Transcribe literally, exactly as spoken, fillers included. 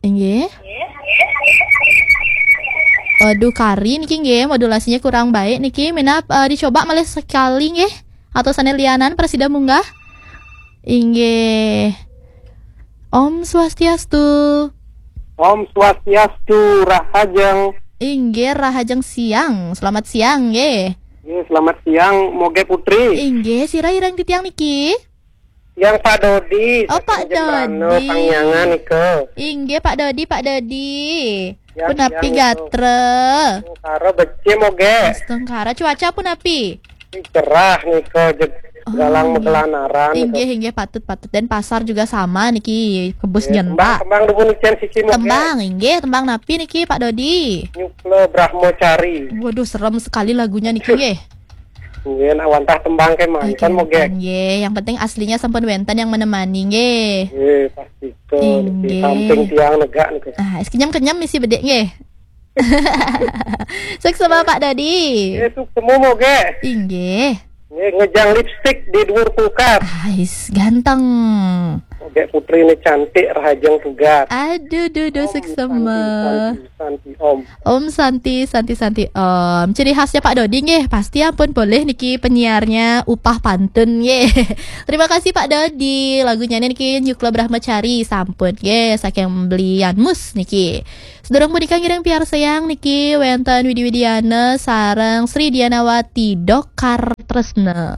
Inggih. Waduh, kari niki nggih, modulasinya kurang baik niki. Minab, eh, dicoba malih sekali nggih. Atau sané lianan prasida munggah. Inggih. Om Swastiastu. Om Swastiastu, rahajeng. Inggih, rahajeng siang. Selamat siang nggih. Nggih, selamat siang, Moge Putri. Inggih, sira ireng titiang niki? Yang Pak Dodi, Oh, Pak saking Jembrana, Dodi. Sangiangan nika. Inggih, Pak Dodi, Pak Dodi. Ya, Punapi siang, gatra? Karo becik, Moge. Astungkara, cuaca punapi? Cerah nika, jeg- Oh, galang nggih. Megelanaran nika. Inggih, inggih, patut, patut. Dan pasar juga sama niki, kebus Nggih, nyentak. Tembang, tembang dumun icén siki, Moge. Tembang, inggih, tembang napi niki, Pak Dodi? Nyukla Brahmacari. Waduh, serem sekali lagunya niki nggih. Nggih, nak wantah tembang kemawon, Moge. Nggih, yang penting aslinya sampun wénten yang menemani nggih. Nggih, pasti to. Inggih. Samping tiang negak niku. Ah, kenyam-kenyam misi bedik nggih. Suksma Pak Dodi. Nggih, suksma, Moge. Inggih. Nggih, ngejang lipstik di dhuwur kulkas. Ais, ganteng. Moge Putri ini cantik, rahajeng tugas. Aduh, duh, duh, Om suksma. Santi, Santi, Santi, Om. Om Santi, Santi, Santi, Om. Ciri khasnya Pak Dodi nggih, pasti ampun boleh niki penyiarnya upah pantun nggih. Terima kasih Pak Dodi. Lagunya niki Nyukla Brahmacari sampun nggih, saking Belian Mus niki. Sedurung punika ngiring piarsayang niki wénten Widi Widiana sareng Sri Dianawati Dokar Tresna.